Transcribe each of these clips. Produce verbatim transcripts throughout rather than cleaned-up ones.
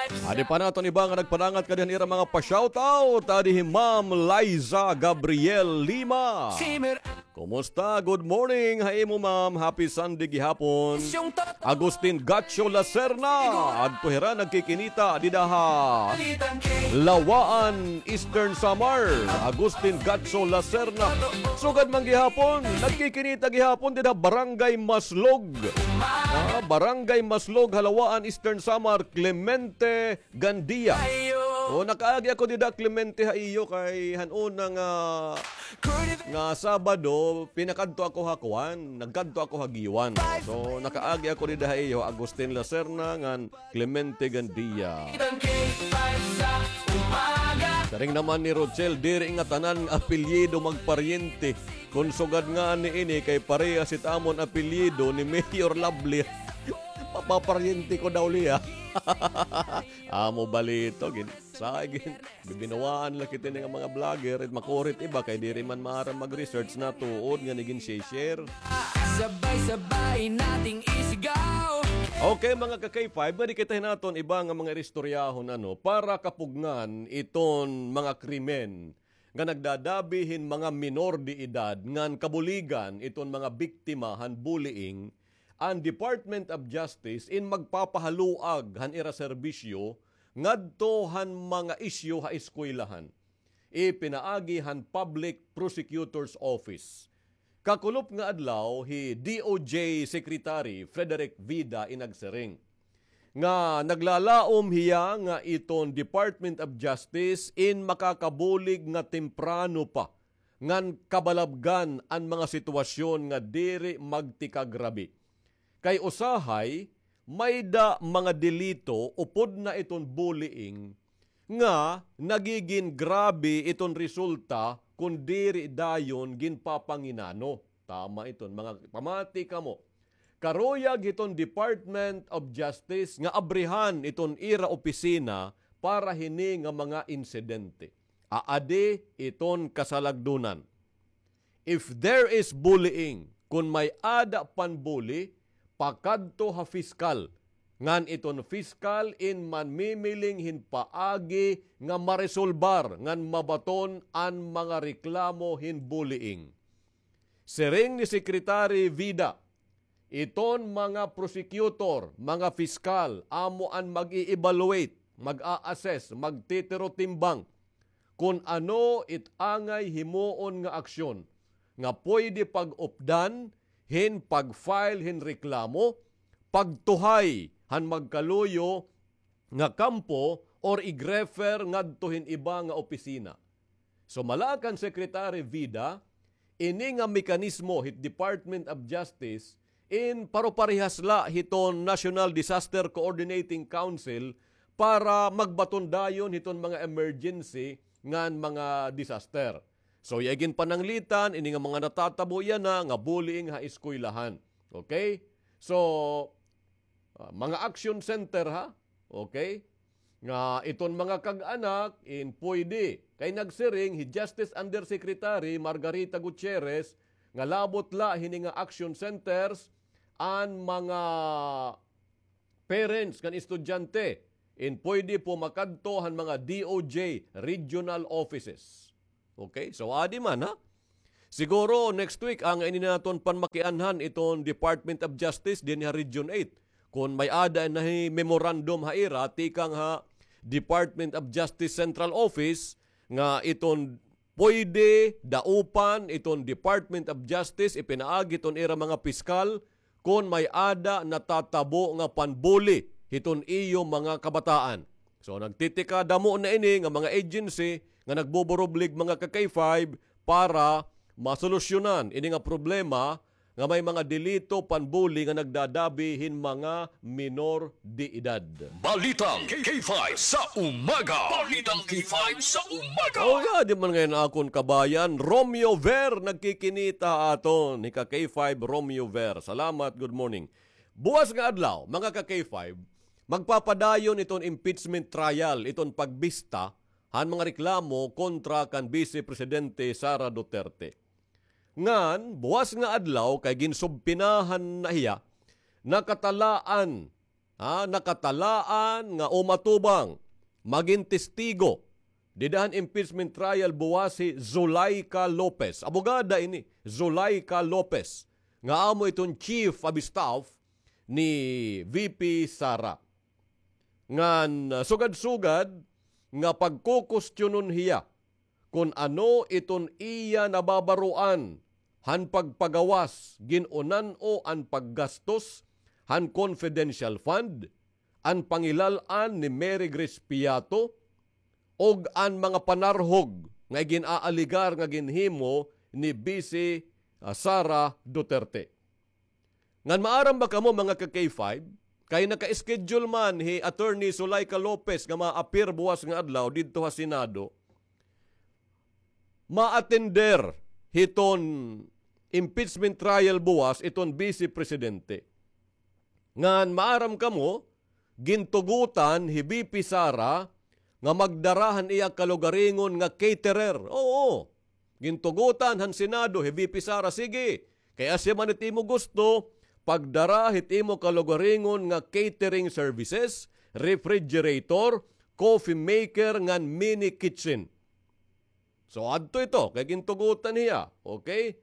Adi pa naton iba nga nagpanangat kadi han ira mga pa-shoutout. Adi hi Ma'am Liza Gabriel Lima. Kumusta? Good morning ha imo, ma'am. Happy Sunday gihapon. Agustin Gacho Lacerna, adto hira nagkikinita dida ha Lawaan, Eastern Samar. Agustin Gacho Lacerna. Sugad man gihapon, nagkikinita gihapon dida Barangay Maslog. Ah, Barangay Maslog, ha Lawaan, Eastern Samar, Clemente Gandia. O, nakaagi ako dida, Clemente, ha iyo kay han una nga, nga Sabado, pinakadto ako ha kuan, nagkadto ako ha Guiuan. So, nakaagi ako dida ha iyo, Agustin Lacerna, ngan Clemente Gandia. Siring naman ni Rochelle, diri nga tanan nga apelyido magparyente. Kon sugad ngani ini kay parehas it amon apelyido ni Mayor Lovely. Mapaparyente ko daw liya. Amo balito, gin-, sa gin-, bibinawaan la kita nga mga vlogger, it makurit iba kay diri man maaram mag-research na tuod nga nagin share. Sabay-sabay nating isigaw. Okay, mga ka-K five, nga di kita hinaton iba nga mga iristoryahon, ano, para kapugngan iton mga krimen nga nagdadabi hin mga minor de edad ngan kabuligan iton mga biktima han bullying, an Department of Justice in magpapahaluag han ira serbisyo ngadto han mga isyu ha eskwelahan. Ipinaagi han Public Prosecutor's Office. Kakulop nga adlaw, hi D O J Secretary Frederick Vida in nagsiring nga naglalaom hiya nga iton Department of Justice in makakabulig nga temprano pa ngan kabalabgan an mga sitwasyon nga diri magtikagrabi. Kay usahay, mayda mga delito upod na iton bullying nga nagigin grabe iton resulta kon diri dayon ginpapanginano. Tama iton, mga pamati kamo. Karuyag hiton Department of Justice nga abrihan iton ira opisina para hini nga mga insidente. Aadi iton kasalagdunan. If there is bullying, kon may-ada panbuli, pakadto ha piskal. Ngan iton piskal in manmimiling hin paagi nga maresolbar ngan mabaton an mga reklamo hin bullying. Siring ni Secretary Vida, iton mga prosecutor, mga piskal, amo an mag-i-evaluate, mag-a-assess, magtitirotimbang kon ano it angay himoon nga aksyon nga pwede pag-updan hin pag-file hin reklamo, pagtuhay han magkaluyo nga kampo or ig-refer ngadto hin iba nga opisina. So, mala kan Secretary Vida, ini nga mekanismo hit Department of Justice in paroparehas la hiton National Disaster Coordinating Council para magbaton dayon hiton mga emergency ngan mga disaster. So, iya ginpananglitan, ini nga mga natatabo yana nga bullying ha eskwelahan. Okay? So, ah, mga action center ha, okay? Nga iton mga kag-anak, in pwede. Kay nagsiring hi Justice Undersecretary Margarita Gutierrez nga labot la hini nga action centers an mga parents kan estudyante, in pwede po makadto han mga D O J regional offices. Okay? So, adi man, ha? Siguro next week, ang ini naton panmakianhan iton Department of Justice dinhi ha Region eight. Kon may-ada na hi memorandum ha ira, tikang ha Department of Justice Central Office, nga iton pwede daupan iton Department of Justice, ipinaagi iton ira mga piskal, kon may-ada natatabo nga panbuli hiton iyo mga kabataan. So, nagtitikadamo na ini nga mga agency nga nagbuburublig mga ka-K five para masolusyonan ini nga problema nga may mga delito panbuli nga nagdadabi hin mga minor de edad. Balitang K five sa umaga. Balitang K five sa umaga. Oh, yeah, di man ngayon akon kabayan. Romeo Ver, nagkikinita aton. Hika K five, Romeo Ver. Salamat, good morning. Buwas nga adlaw, mga ka K five, magpapadayon iton impeachment trial, iton pagbista, han mga reklamo kontra kan Vice Presidente Sara Duterte. Ngan, buwas nga adlaw kay ginsubpinahan na hiya, nakatalaan ah, nakatalaan nga umatubang, magin testigo dida han impeachment trial buwas hi Zuleika Lopez. Abogada ini, Zuleika Lopez, nga amo iton chief of staff ni V P Sara. Ngan, ah, sugad-sugad nga pagkukustionon hiya kon ano iton iya nababaroan han pagpagawas, gin-unan-o an paggastos han confidential fund, an pangilal-an ni Mary Grace Piato, ug an mga panarhog nga igin-aaligar nga ginhimo ni Vice, ah, Sara Duterte. Ngan maaram ba kamo, mga ka-K five, kay naka-schedule man hi Attorney Zuleika Lopez nga ma-appear buwas nga adlaw didto ha Senado, ma-attender hiton impeachment trial buwas iton Vice Presidente. Ngan maaram kamo, gintugotan hi V P Sara nga magdara han iya kalugaringon nga caterer. Oo, gintugotan han Senado hi V P Sara, sige, kay asya man it imo gusto, pagdara hit imo kalugaringon nga catering services, refrigerator, coffee maker, ngan mini kitchen. So, adto ito, kay gintugotan hiya, okay?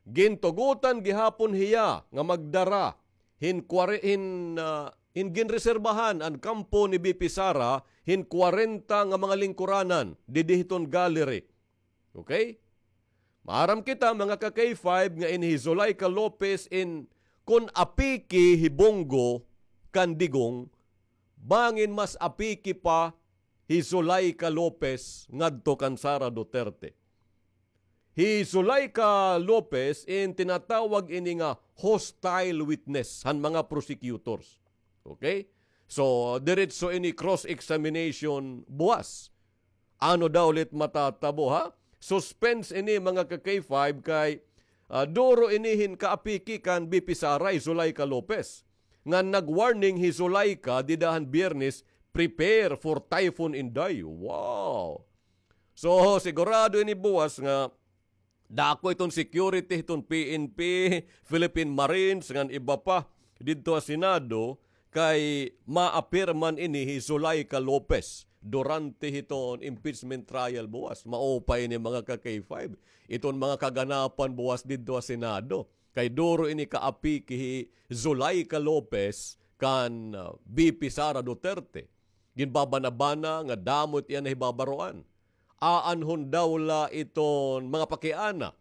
Gintugotan gihapon hiya nga magdara hin kware-, hin, ah, hin ginreserbahan an kampo ni V P Sara hin kwarenta nga mga lingkuranan didi hiton gallery. Okay? Maaram kita, mga ka-K five, nga ini hi Zuleika Lopez in kon apiki hi Bong Go kan Digong, bangin mas apiki pa hi Zuleika Lopez ngadto kan Sara Duterte. Hi Zuleika Lopez in tinatawag ini nga hostile witness han mga prosecutors. Okay? So, diretso ini cross-examination buwas. Ano daw ulit matatabo, ha? Suspense ini, mga ka-K five, kay, ah, duro ini hin kaapiki kan V P Sara hi Zuleika Lopez. Nga nag-warning hi Zuleika dida han Biyernes, "Prepare for Typhoon Inday." Wow! So, sigurado ini buwas nga dako iton security hiton P N P, Philippine Marines, ngan iba pa didto ha Senado, kay ma-appear man ini hi Zuleika Lopez durante hiton impeachment trial buwas. Maupay ini, mga ka-K five. Iton mga kaganapan buwas didto ha Senado. Kay duro ini kaapiki hi Zuleika Lopez kan, ah, V P Sara Duterte. Ginbabana-bana nga damo it iya nahibabaroan. Aanhon daw la iton mga pakiana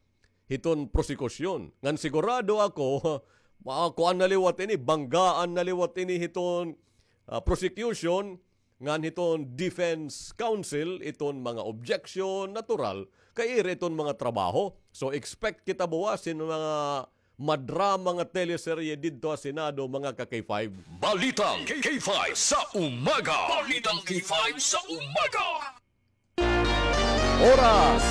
hiton prosekusyon. Ngan sigurado ako, makuan na liwat ini, banggaan na liwat ini hiton, ah, prosecution, ngan hiton defense counsel, iton mga objection, natural, kay ira iton mga trabaho. So, expect kita buwas hin mga madrama nga teleserye didto ha Senado, mga ka-K five. Balitang K five sa umaga. Balitang K five sa umaga. Oras,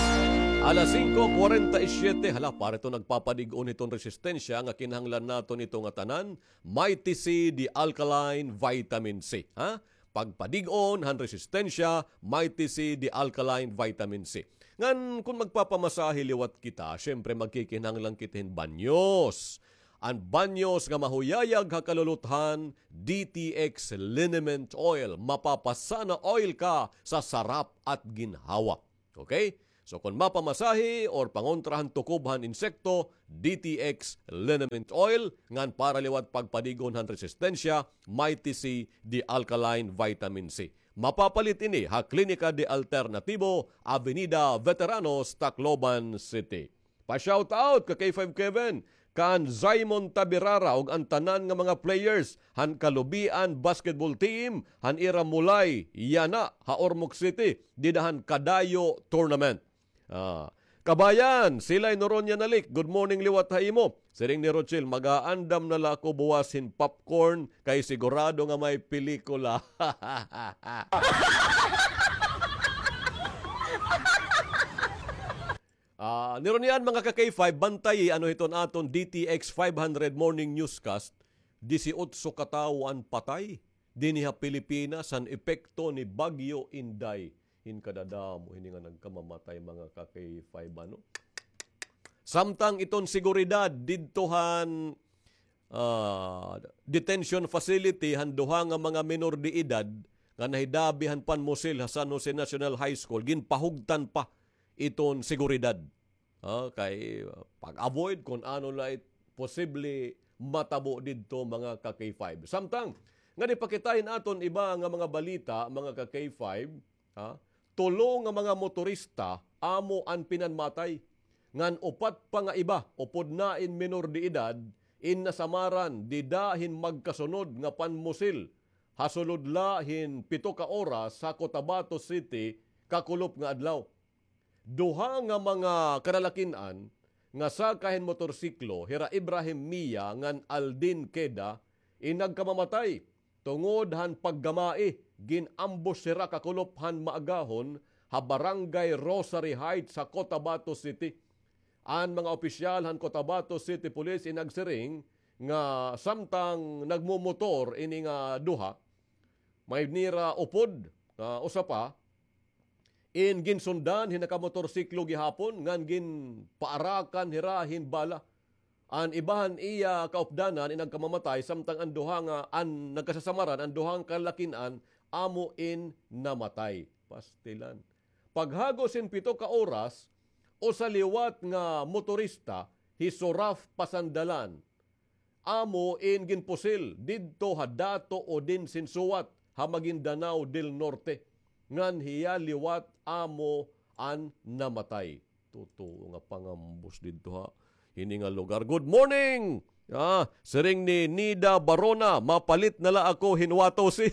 alas singko kwarenta y siyete. Hala, para ito nagpapadig-on hiton resistensya nga kinahanglan naton ito nga tanan, Mighty C, the alkaline vitamin C, ha? Pagpadig-on han resistensya, Mighty C, the alkaline vitamin C. Ngan kun magpapamasahe liwat kita, syempre magkikinahanglan kita hin banyos. An banyos nga mahuyayag ha kaluluthan, D T X liniment oil. Mapapasana oil ka sa sarap at ginhawa. Okay? So, kon mapamasahe or pangontra han tukob han insekto, D T X liniment oil, ngan para liwat pagpadig-on han resistensya, Mighty C, the alkaline vitamin C. Mapapalit ini ha Klinika de Alternatibo, Avenida Veteranos, Tacloban City. Pa-shoutout ka K five Kevin, kan Simon Tabirara ug an tanan nga mga players han Kalubian basketball team han ira Mulay yana ha Ormoc City, dida han Kadayo Tournament. Ah, kabayan, Silay Noronia Nalik, good morning liwat ha imo. Siring ni Rochelle, mag-aandam na la ako buwas hin popcorn kay sigurado nga may pelikula. Ah, niron yan, mga ka-K five, bantayi ano hiton aton D T X five hundred morning newscast, disiotso ka tawo an patay dinhi ha Pilipinas han epekto ni Bagyo Inday. Hin kadadamo hini nga nagkamamatay, mga ka-K five, ano? Samtang iton seguridad didto han ah, detention facility han duha nga mga menor de edad nga nahidabi han panmusil ha San Jose National High School, ginpahugtan pa iton seguridad. Ah, kay, ah, pag-avoid kon ano la it posible matabo didto, mga ka-K five. Samtang, nga di pa kita hin aton iba nga mga balita, mga ka-K five, ha? Tulo nga mga motorista amo an pinanmatay. Ngan upat pa nga iba, upod na in menor de edad, in nasamaran dida hin magkasunod nga panmusil ha sulod la hin pito ka oras ha Cotabato City, kakulop nga adlaw. Duha nga mga kalalakin-an nga saka hin motorsiklo, hira Ibrahim Mia ngan Aldin Queda, in nagkamamatay tungod han paggamai, gin-ambush hira kakulop han maagahon ha Barangay Rosary Heights ha Cotabato City. An mga opisyal han Cotabato City Police in nagsiring nga samtang nagmomotor ini nga duha, may nira upod nga usa pa, in ginsundan hin nakamotorsiklo gihapon ngan ginpaarakan hira hin bala. An iba han iya kaupdanan in nagkamamatay, samtang an duha nga, an nagkasasamaran, an duha nga kalalakin-an, amo in namatay. Pastilan. Paghagos hin pito ka oras, usa liwat nga motorista, hi Suraf Pasandalan, amo in ginpusil didto ha Dato Odin Sinsuat ha Maguindanao del Norte, ngan hiya liwat amo an namatay. Totoo nga pangambos didto ha hini nga lugar. Good morning! Ah, siring ni Nida Barona, mapalit na la ako hin wato si.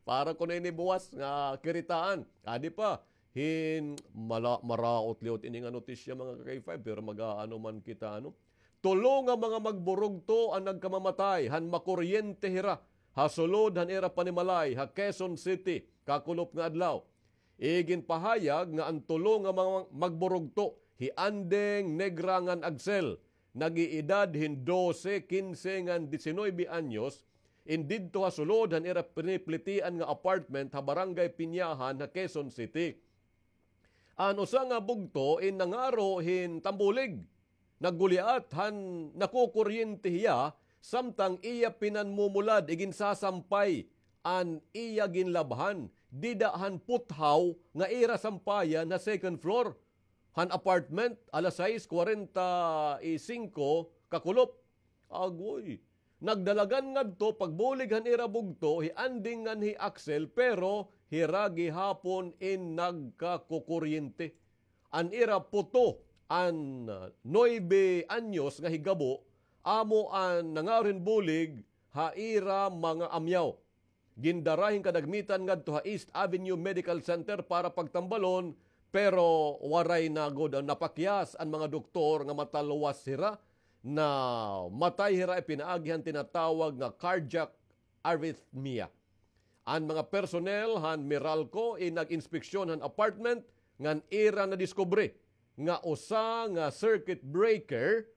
Para kuno ini buwas nga kiritaan. Adi pa, hin mala-, maraot liwat ini nga notisya, mga ka-K five, pero mag-aano man kita, ano? Tulo nga mga magburugto an nagkamamatay han makuryente hira ha sulod han ira panimalay ha Quezon City, kakulop nga adlaw. Iginpahayag nga an tulo nga mga magburugto, hi Andeng, Negra ngan Axel, nag-iedad hin dose, kinse ngan disinoybe anyos, in didto ha sulod han ira piniplitian nga apartment ha Barangay Pinyahan ha Quezon City. An usa nga bugto in nangaro hin tambulig, nagguliat han nakukuryente hiya, samtang iya pinanmumulad, iginsasampay an iya ginlabhan dida han puthaw nga ira sampayan ha second floor han apartment, alas sais kwarenta y singko kakulop. Agoy. Nagdalagan ngadto pagbulig han ira bugto hi Anding ngan hi Axel, pero hira gihapon in nagkakukuryente. An ira puto, an, ah, nuebe anyos nga higabo, amo an nangaro hin bulig ha ira mga amyaw. Gindara hin kadagmitan ngadto ha East Avenue Medical Center para pagtambalon, pero waray na gud napakyas an mga doktor nga matalwas hira, namatay hira, ipinaagi han tinatawag nga cardiac arrhythmia. An mga personnel han Meralco in nag-inspeksyon han apartment ngan ira nadiskubre nga usa nga circuit breaker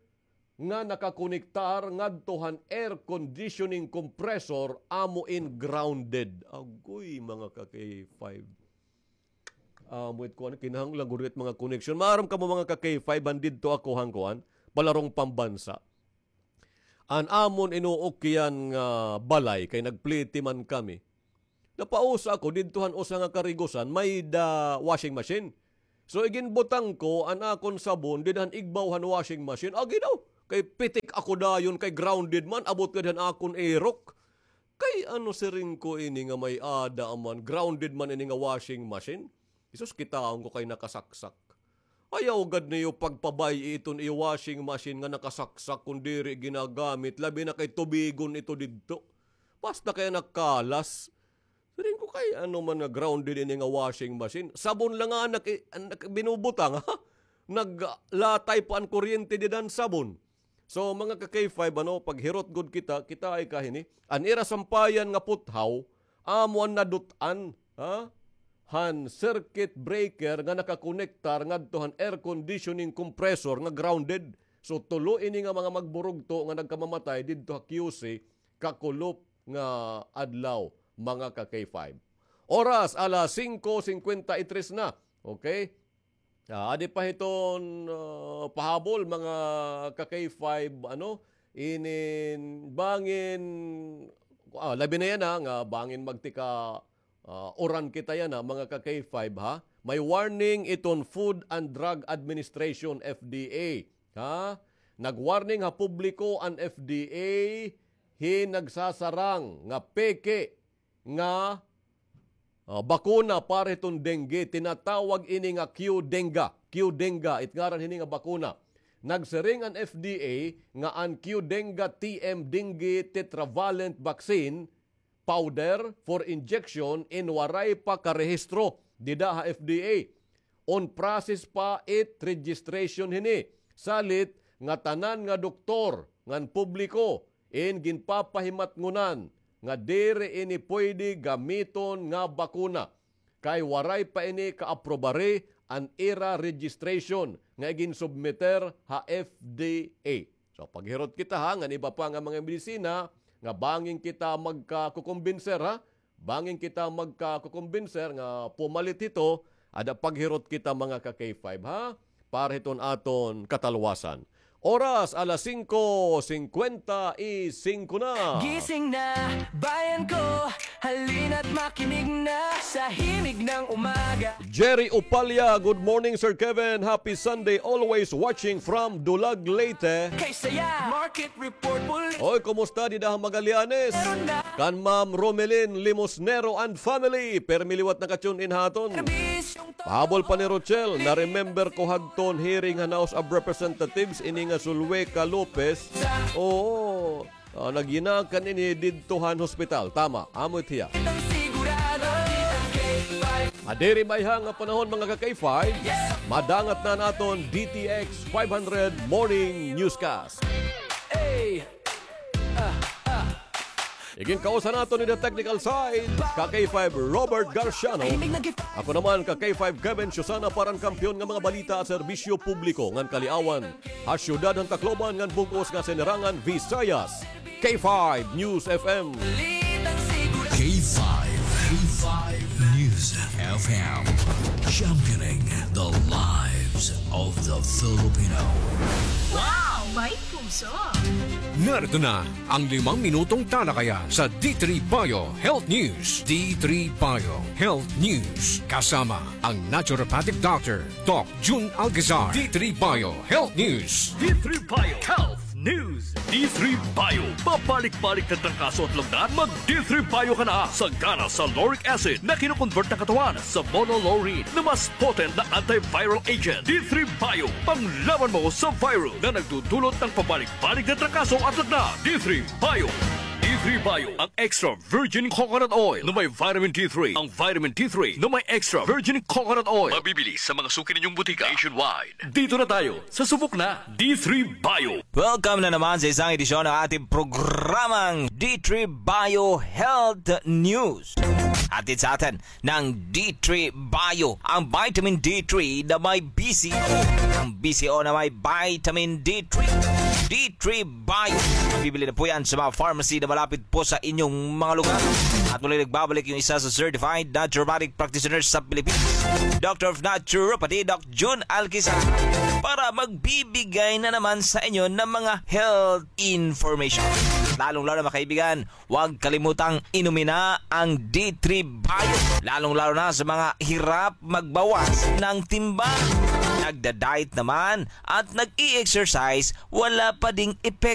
nga nakakonektar ngadto han air conditioning compressor amo in grounded. Agoy, mga ka-K five. Amo it kuan, kinahanglan gud it mga connection. Maaram kamo, mga ka-K five, han didto ako han kuan, palarong pambansa. An amon inuukyan nga balay kay nagpliti man kami. Napausa ako didto han usa nga karigusan, may-ada washing machine. So, iginbutang ko an akon sabon dida han igbaw han washing machine. Agi daw, kay pitik ako dayon, kay grounded man, abot gad han akon irok. Kay ano, siring ko, ini nga may-ada man, grounded man ini nga washing machine. Isus, kitaon ko kay nakasaksak. Ayaw gad niyo pagpabay-i iton iyo washing machine nga nakasaksak kon diri ginagamit, labi na kay tubigon ito didto. Basta kay nakalas. Siring ko, kay ano man nga grounded ini nga washing machine. Sabon la nga an naki-, an naki-, binubutang, ha? Naglatay pa an kuryente dida han sabon. So, mga ka-K five, ano, paghirot gud kita, kita ay kahini. An ira sampayan nga puthaw, amo an nadut-an, ha? Han circuit breaker nga nakakonektar ngadto han air conditioning compressor nga grounded. So, tulo ini nga mga magburugto nga nagkamamatay didto ha Q C, kakulop nga adlaw, mga ka-K five. Oras, alas singko singkwenta y tres na. Okay? Ah, adi pa hiton, ah, pahabol, mga ka-K five, ano, inin bangin, ah, labi na yana nga bangin magtika, ah, uran kita yana, mga ka-K five, ha? May warning iton Food and Drug Administration, F D A, ha? Nag-warning ha publiko an F D A hin nagsasarang nga peke nga, ah, bakuna para hiton dengue. Tinatawag ini nga Q-Denga. Q-Denga, it ngaran hini nga bakuna. Nagsiring an F D A nga an Q-Denga T M dengue tetravalent vaccine powder for injection in waray pa karehistro dida ha F D A. On process pa it registration hini. Salit nga tanan nga doktor ngan publiko in ginpapahimatngonan nga diri ini pwede gamiton nga bakuna kay waray pa ini kaaprobari an ira registration nga iginsubmiter ha F D A. So, paghirot kita, ha, ngan iba pa nga mga medisina nga bangin kita magkakukumbinser, ha? Bangin kita magkakukumbinser nga pumalit hito, ada paghirot kita, mga ka-K five, ha? Para hiton aton katalwasan. Oras, alas singko singkwenta y singko na. Gising na, bayan ko, halina't makinig na sa himig ng umaga. Jerry Upalya, good morning, Sir Kevin. Happy Sunday, always watching from Dulag, Leyte. Kay saya, market report, bul- Oy, kumusta dida ha Magallanes? Meron na. Kan Ma'am Romelin Limosnero and family, permi liwat naka-tune in ha aton. Serbisyong Pahabol pa ni Rochelle, na-remember ko hadton hearing han House of Representatives ini nga Zulueca Lopez. Oo, ah, nagyinakan ini didto han hospital. Tama, amo it hiya. Sigurado. Adiri mayha nga panahon, mga ka-K five, madangat na an aton D T X five hundred Morning Newscast. Hey! Iginkausa naton in the technical side, ka-K five Robert Garciano. Ako naman, ka-K five Kevin Susana, para han kampiyon nga mga balita at serbisyo publiko ngan kaliawan ha syudad han Tacloban ngan bug-os nga sinirangan Visayas. K five News F M. K five, K five News F M. Championing the lives of the Filipino. Wow! May puso! Narito na ang limang minutong talakayan sa D three Bio Health News. D three Bio Health News. Kasama ang naturopathic doctor, Doc Jun Alcazar. D three Bio Health News. D three Bio Health News. D three Bio. Pabalik-balik na trangkaso at lagnat? Mag D three Bio ka na. Sagana sa lauric acid na kino-convert ng katawan sa monolaurin na mas potent na antiviral agent. D three Bio. Panglaban mo sa viral na nagdudulot ng pabalik-balik na trangkaso at lagnat. D three Bio. D three Bio. Ang extra virgin coconut oil na may vitamin D three. Ang vitamin D three na may extra virgin coconut oil. Mabibili sa mga suki ninyong butika nationwide. Dito na tayo sa Subok na D three Bio. Welcome na naman sa isang edisyon ng ating programang D three Bio Health News. Hatid sa atin ng D three Bio, ang vitamin D three na may B C O. Ang B C O na may vitamin D three. D three Bio. Mabibili na po yan sa mga pharmacy na malapit po sa inyong mga lugar. At muli nagbabalik yung isa sa certified naturopathic practitioner sa Pilipinas, Doctor of Naturopathy, Doc Jun Alcazar, para magbibigay na naman sa inyo ng mga health information. Lalong-lalo, mga kaibigan, huwag kalimutang inumin na ang D three Bio, lalong-lalo na sa mga hirap magbawas ng timbang, nagda-diet naman at nag-i-exercise, wala pa ding epekto.